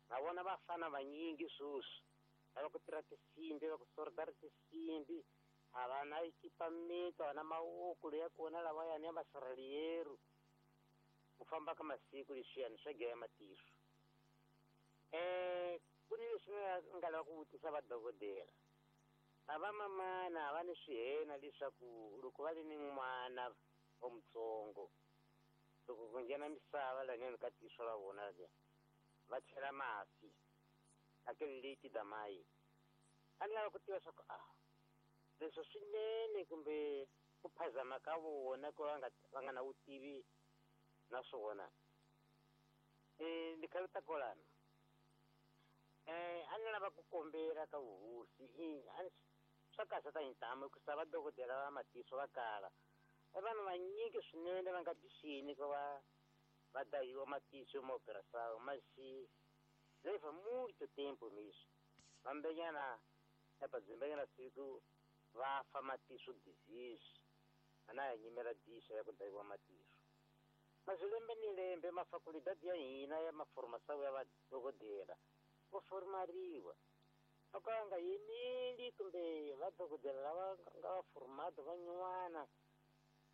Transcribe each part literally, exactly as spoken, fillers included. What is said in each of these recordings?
Na vona vafana vanyingi sweswi va ku tirha tinsimbi, va ku soldara tinsimbi, a va na equipamento, a va na mavoko ya kona lawayani ya masirheliyeru. Ku famba ka masiku leswiyani swa gaya matihlo. Eh ku ni leswi ni nga lava ku vutisa vadokodela. A va mamana a va ni swihena leswaku loko va ri ni n'wana wa mutsongo, loko ku nghena misava laniwani ka tihlo ra vona leriya, va chela masi aquele leite da mãe. A ni lava ku tiva swa ku ah leswi swinene kumbe ku phazama ka vona ku va nga va nga na vutivi na swona. Eh ni kha ta kolana. Eh a ni lava ku kombela ka vuhosi i a ni swa kahle ta hintamu ku sava dokodela va matihlo va kala. E vanhu vanyingi swinene va nga bixini ku va va dayiwa matihlo ma operação, mas leva muito tempo mesmo. Vambenyana epa dzimbenyana siku va fa matihlo disease. Ana ya nyimela diso ya ku dayiwa matihlo. Mas lembe ni lembe mafakulidade ya hina ya maformação ya vadokodela vo formariwa. Loko va nga yimeli kumbe vadokodela lava nga va formado va nyuwana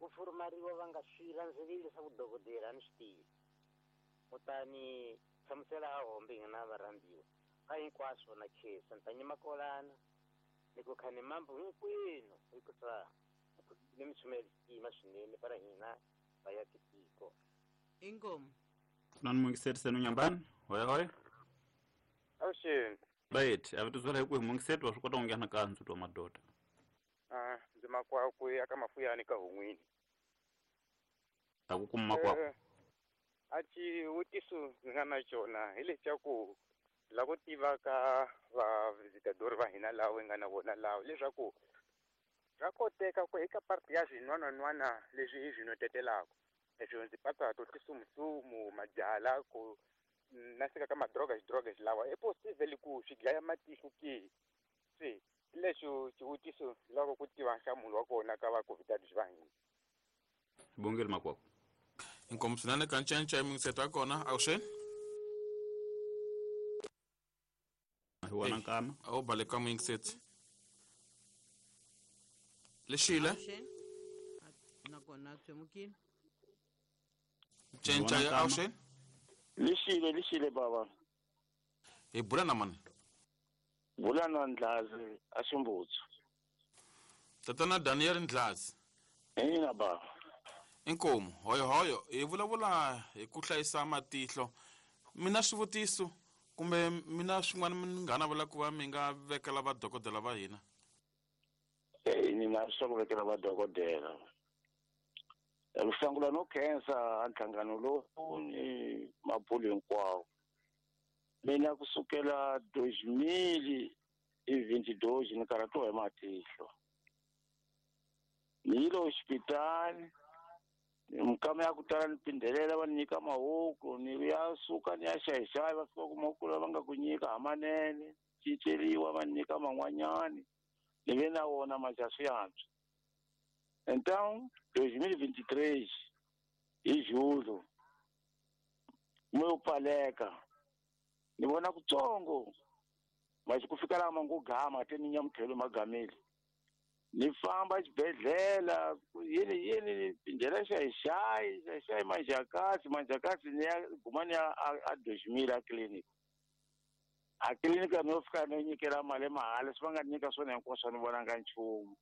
vo formariwa va nga swi landzeleli swa vudokodela a ni swi tivi. Kutani hlamusela a hombe hina varhambiwa ka hinkwaswo na khensa ni ta nyima kolana ni ku kha ni mambo hinkwenu hikusa ni mi chumela xitima swinene para hina va ya tiko. Inkomu. Nani mungiseti senu nyambani? Hoya hoya. Avuxeni. Right, a vitizwela hi kwihi mungiseti wa swi kota ku nghena ka ndzhuti wa madoda? Ah, ndzi makwaku ya ka Mafuyani ka Hun'wini. A ku kuma makwaku. A xivutiso ndzi nga na xona hi lexaku la ku tiva ka va visitador va hina lawa hi nga na vona lawa leswaku swa koteka ku eka parti ya swin'wanan'wana leswi hi swi notetelaka leswi ndzi patsa to tisumusumu mabyala ku na sika ka madroga xidroga lawa i possible ku swi dlaya matihlo ke se lexo xivutiso loko ku tiva nhlamulo wa kona ka va COVID va hina. Bongeli makwaku. Inkomu swinene ka ncence mingiseto ya kona avuxeni. Hi wona nkama. A wu baleka muyingiseti. Lexile. Nakona tswemukile. Ncenca ya avuxeni. Lexile, lexile baba. Hi bula na mani? Bula na Ndlazi a Ximbutsu. Tatana Daniel Ndlazi. Ina baba. Inkomu, hoyo hoyo, hi vulavula hi ku hlayisa matihlo. Mina swivutiso kumbe mina swin'wana mi nga navela ku va mi nga vekela vadokodela va hina? Eh, ni na swa ku vekela vadokodela. Luhlangula no khensa nhlangano lowu ni mabulu hinkwawo. Mina kusukela dois mil e vinte e dois ni karhatiwa hi matihlo. Ni yile hospitali, mikama ya ku tala ni phindelela va ni nyika mahoko, ni ya suka ni ya xayixayi va fika ku mahoko lava nga ku nyika hamanene, cinceriwa va ni nyika man'wanyani, ni ve na wona maxa swi antswa. Então, dois mil e vinte e três, hi julho, mo pfaleka, ni vona kutsongo, mas ku fika laha ma ngo gama te ni nyamutlhelo magamile. Ni famba xibedhlele yini yini ni phindelela xayixayi xayixayi manjakasi manjakasi ni ya guma ni ya a dois mil a clinic. A clinic no fika no nyikela mali mahala swi va nga nyika swona hinkwaswo ni vonanga nchumu.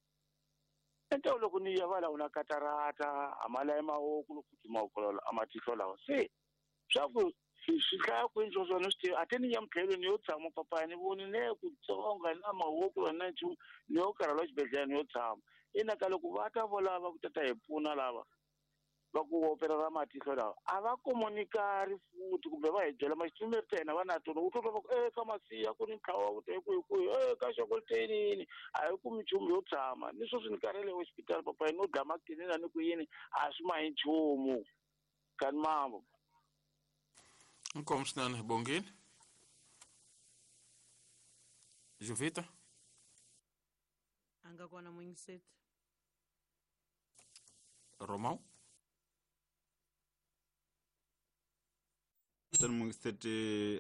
Então loko ni ya va la una katarata a mali ya mahoko loko futhi mahoko a matihlo lawa se swa ku swi hlaya kwini swo swona swi tivi a te ni nyamutlhelo ni yo tshama papaya ni voni ne ku tsonga na mahoko na nchumu ni yo karhala xibedhlele ni yo tshama. Ina ka loko va ta volava ku tata hi pfuna lava va ku operera matihlo lawa a va komunikari futhi kumbe va hi byela maxitsumeri ta hina va na tona u twa va ku e ka masiya ku ni ntlawa wa ku te kwihi kwihi e ka xokoloteni a hi kumi nchumu yo tshama ni sweswi ni karhele hospital papaya no dlama kinina ni ku yini a swi ma hi nchumu kani mambo. Inkomu swinene Bongile. Jovita. A nga kona muyingiseti. Romão. Mungiseti